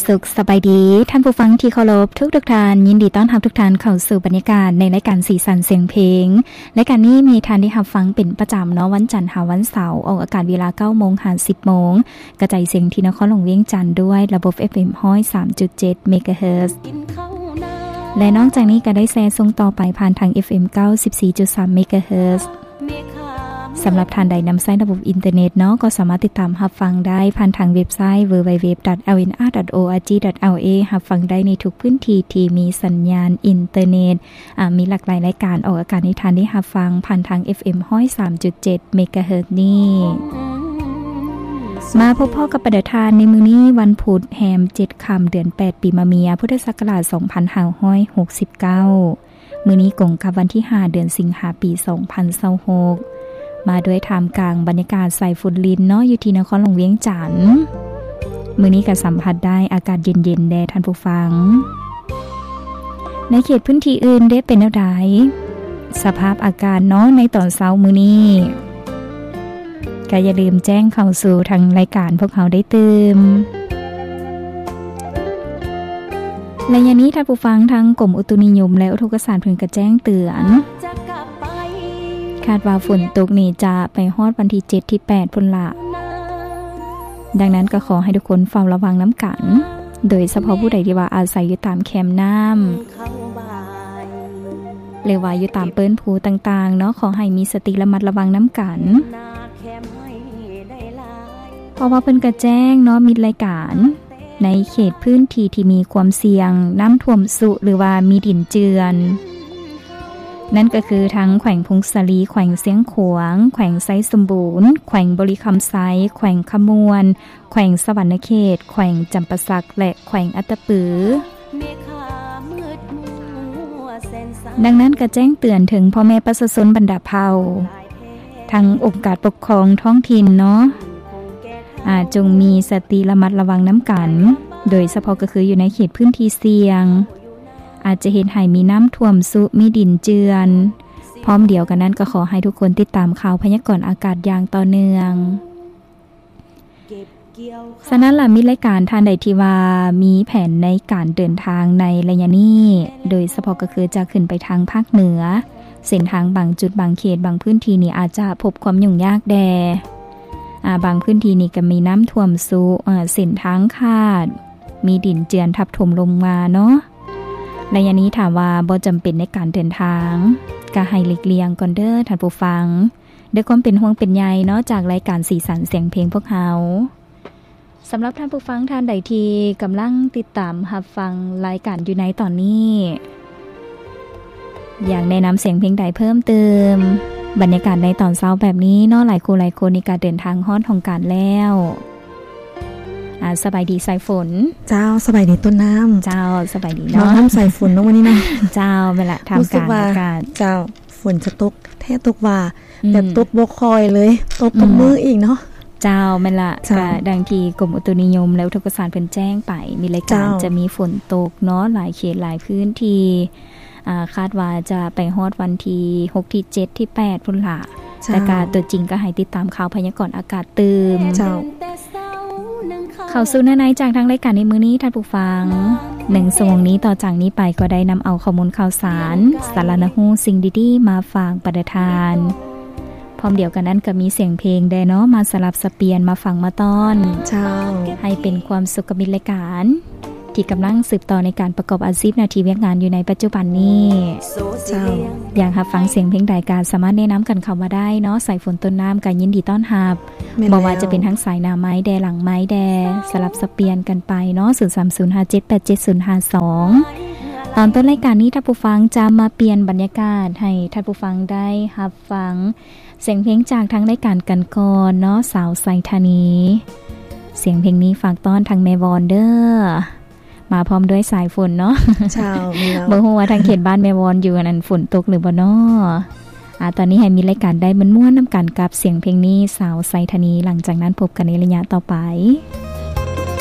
ສຸກສະບາຍດີ ທ່ານຜູ້ຟັງທີ່ເຄົາລົບທຸກໆທ່ານ, ຍິນດີຕ້ອນຮັບທຸກທ່ານເຂົ້າສູ່ບັນຍາກາດໃນລາຍການສີສັນສຽງເພງ. ລາຍການນີ້ມີທ່ານໄດ້ຮັບຟັງເປັນປະຈຳເນາະ, ວັນຈັນຫາວັນເສົາ ອອກອາກາດເວລາເກົ້າໂມງຫາສິບໂມງ, ກະຈາຍສຽງທີ່ນະຄອນຫຼວງວຽງຈັນດ້ວຍລະບົບ ເອັຟເອັມ ຮ້ອຍສາມຈຸດເຈັດ ເມກາເຮີດ ແລະ ນອກຈາກນີ້ກໍໄດ້ແຊສົ່ງຕໍ່ໄປຜ່ານທາງ ເອັຟເອັມ ເກົ້າສິບສີ່ຈຸດສາມ ເມກາເຮີດ. ສຳລັບທ່ານໃດນຳໃຊ້ລະບົບອິນເຕີເນັດເນາະ, ກໍສາມາດຕິດຕາມຮັບຟັງໄດ້ຜ່ານທາງເວັບໄຊ www.lnr.org.la ຮັບຟັງໄດ້ໃນທຸກພື້ນທີ່ທີ່ມີສັນຍານອິນເຕີເນັດ. ອາ, ມີຫຼາກຫຼາຍລາຍການອອກອາກາດໃຫ້ທ່ານໄດ້ຮັບຟັງຜ່ານທາງ ເອັຟເອັມ ຮ້ອຍສາມຈຸດເຈັດ ເມກາເຮີດນີ້. ມາພົບພໍ້ກັບບັນດາທ່ານໃນມື້ນີ້ ວັນພຸດ ແຮມເຈັດຄ່ຳ ເດືອນແປດ ປີມະເມຍ ພຸດທະສັກກະລາດ ສອງພັນຫ້າຮ້ອຍຫົກສິບເກົ້າ. ມື້ນີ້ກົງກັບວັນທີຫ້າ ເດືອນສິງຫາ ປີສອງພັນຊາວຫົກ ມາດ້ວຍທ່າມກາງບັນຍາກາດສາຍຝົນລິນເນາະ ຢູ່ທີ່ນະຄອນຫຼວງວຽງຈັນ. ມື້ນີ້ກໍສຳຜັດໄດ້ອາກາດເຢັນໆແດ່ທ່ານຜູ້ຟັງ. ໃນເຂດພື້ນທີ່ອື່ນເດ ເປັນແນວໃດ ສະພາບອາກາດເນາະ ໃນຕອນເຊົ້າມື້ນີ້? ກໍຢ່າລືມແຈ້ງເຂົ້າສູ່ທາງລາຍການພວກເຮົາໄດ້ຕື່ມ. ໄລຍະນີ້ທ່ານຜູ້ຟັງ, ທາງກົມອຸຕຸນິຍົມ ແລະ ອຸທົກກະສາດເພິ່ນກະແຈ້ງເຕືອນ, ຄາດວ່າຝົນຕົກນີ້ຈະໄປຮອດວັນທີເຈັດ ທີແປດພຸ້ນລະ. ດັ່ງນັ້ນກໍຂໍໃຫ້ທຸກຄົນເຝົ້າລະວັງນຳກັນ, ໂດຍສະເພາະຜູ້ໃດທີ່ວ່າອາໄສຢູ່ຕາມແຄມນ້ຳ ຫຼືວ່າຢູ່ຕາມເປີ້ນພູຕ່າງໆເນາະ, ຂໍໃຫ້ມີສະຕິລະມັດລະວັງນຳກັນ. ເພາະວ່າເພິ່ນກະແຈ້ງເນາະ ມິດລາຍການ ໃນເຂດພື້ນທີ່ທີ່ມີຄວາມສ່ຽງນ້ຳຖ້ວມຊຸ ຫຼືວ່າມີດິນເຈື່ອນ, ນັ້ນກໍຄືທັງແຂວງຜົ້ງສາລີ, ແຂວງຊຽງຂວາງ, ແຂວງໄຊສົມບູນ, ແຂວງບໍລິຄຳໄຊ, ແຂວງຄຳມ່ວນ, ແຂວງສະຫວັນນະເຂດ, ແຂວງຈຳປາສັກ ແລະ ແຂວງອັດຕະປື. ດັ່ງນັ້ນກໍແຈ້ງເຕືອນເຖິງພໍ່ແມ່ປະຊາຊົນບັນດາເຜົ່າ, ທັງອົງການປົກຄອງທ້ອງຖິ່ນເນາະ, ອາ, ຈົ່ງມີສະຕິລະມັດລະວັງນຳກັນ, ໂດຍສະເພາະກໍຄືຢູ່ໃນເຂດພື້ນທີ່ສ່ຽງ, ອາດຈະເຮັດໃຫ້ມີນ້ຳຖ້ວມຊຸ, ມີດິນເຈື່ອນ. ພ້ອມດຽວກັນນັ້ນກໍຂໍໃຫ້ທຸກຄົນຕິດຕາມຂ່າວພະຍາກອນອາກາດຢ່າງຕໍ່ເນື່ອງ. ສະນັ້ນລະ ມິດລາຍການທ່ານໃດທີ່ວ່າມີແຜນໃນການເດີນທາງໃນໄລຍະນີ້, ໂດຍສະເພາະກໍຄືຈະຂຶ້ນໄປທາງພາກເໜືອ, ເສັ້ນທາງບາງຈຸດບາງເຂດບາງພື້ນທີ່ນີ້ອາດຈະພົບຄວາມຫຍຸ້ງຍາກແດ່. ອາ, ບາງພື້ນທີ່ນີ້ກໍມີນ້ຳຖ້ວມຊຸ, ເສັ້ນທາງຂາດ, ມີດິນເຈື່ອນທັບຖົມລົງມາເນາະ. ໄລຍະນີ້ຖ້າວ່າບໍ່ຈຳເປັນໃນການເດີນທາງ, ກໍໃຫ້ຫຼີກລ່ຽງກ່ອນເດີທ່ານຜູ້ຟັງ. ດ້ວຍຄວາມເປັນຫ່ວງເປັນໃຍເນາະ ຈາກລາຍການສີສັນສຽງເພງພວກເຮົາ. ສຳລັບທ່ານຜູ້ຟັງທ່ານໃດທີ່ກຳລັງຕິດຕາມຮັບຟັງລາຍການຢູ່ໃນຕອນນີ້, ຢາກແນະນຳສຽງເພງໃດເພີ່ມເຕີມ? ບັນຍາກາດໃນຕອນເຊົ້າແບບນີ້ເນາະ, ຫຼາຍຄູ່ຫຼາຍຄົນນີ້ກະເດີນທາງຮອດຫ້ອງການແລ້ວ. ອາ, ສະບາຍດີສາຍຝົນ. ເຈົ້າ, ສະບາຍດີຕົ້ນນ້ຳ. ເຈົ້າ, ສະບາຍດີເນາະ ນ້ອງນ້ຳສາຍຝົນເນາະ ມື້ນີ້ເນາະ. ເຈົ້າ, ແມ່ນລະ, ທ່າມກາງອາກາດ. ເຈົ້າ, ຝົນຈະຕົກແທ້ຕົກວ່າ, ອືມ, ແບບຕົກບໍ່ຄ່ອຍເລີຍ, ຕົກທຸກມື້ອີກເນາະ. ເຈົ້າ, ແມ່ນລະ. ເຈົ້າ, ກະດັ່ງທີ່ກົມອຸຕຸນິຍົມ ແລະ ອຸທົກກະສາດເພິ່ນແຈ້ງໄປ, ມີລາຍການ, ເຈົ້າ, ຈະມີຝົນຕົກເນາະ, ຫຼາຍເຂດຫຼາຍພື້ນທີ່. ອາ, ຄາດວ່າຈະໄປຮອດວັນທີຫົກ ທີເຈັດ ທີແປດພຸ້ນລະ. ເຈົ້າ, ແຕ່ກະຕົວຈິງກໍໃຫ້ຕິດຕາມຂ່າວພະຍາກອນອາກາດຕື່ມ. ເຈົ້າ, ເຂົ້າສູ່ເນື້ອໃນຈາກທາງລາຍການໃນມື້ນີ້ທ່ານຜູ້ຟັງ. ໜຶ່ງຊົ່ວໂມງນີ້ຕໍ່ຈາກນີ້ໄປກໍໄດ້ນຳເອົາຂໍ້ມູນຂ່າວສານ, ສາລະໜ້າຮູ້, ສິ່ງດີໆມາຝາກບັນດາທ່ານ. ພ້ອມດຽວກັນນັ້ນກໍມີສຽງເພງແດ່ເນາະ ມາສະຫຼັບສະປ່ຽນມາຟັງມາຕ້ອນ. ເຈົ້າ, ໃຫ້ເປັນຄວາມສຸກກັບມິດລາຍການ ທີ່ກຳລັງສືບຕໍ່ໃນການປະກອບອາຊີບໜ້າທີ່ວຽກງານຢູ່ໃນປັດຈຸບັນນີ້. ເຈົ້າ, ຢາກຮັບຟັງສຽງເພງໃດກໍສາມາດແນະນຳກັນເຂົ້າມາໄດ້ເນາະ. ສາຍຝົນຕົ້ນນ້ຳກໍຍິນດີຕ້ອນຮັບ, ບໍ່ວ່າຈະເປັນທາງສາຍໜ້າໄມແດ່ ຫຼັງໄມແດ່, ສະຫຼັບສະປ່ຽນກັນໄປເນາະ. ສູນສາມສູນຫ້າເຈັດແປດເຈັດສູນຫ້າສອງ. ຕອນຕົ້ນລາຍການນີ້ທ່ານຜູ້ຟັງຈະມາປ່ຽນບັນຍາກາດໃຫ້ທ່ານຜູ້ຟັງໄດ້ຮັບຟັງ ສຽງເພງຈາກທາງລາຍການກັນກ່ອນເນາະ, ສາວໄຊທານີ. ສຽງເພງນີ້ຝາກຕ້ອນທາງແມ່ວອນເດີ. ມາພ້ອມດ້ວຍສາຍຝົນເນາະ. ເຈົ້າ, ບໍ່ຮູ້ວ່າທາງເຂດບ້ານແມ່ວອນຢູ່ອັນນັ້ນຝົນຕົກຫຼືບໍ່ເນາະ. ອາ, ຕອນນີ້ໃຫ້ມີລາຍການໄດ້ມ່ວນໆນຳກັນກັບສຽງເພງນີ້, ສາວໄຊທານີ. ຫຼັງຈາກນັ້ນພົບກັນໃນໄລຍະຕໍ່ໄປ.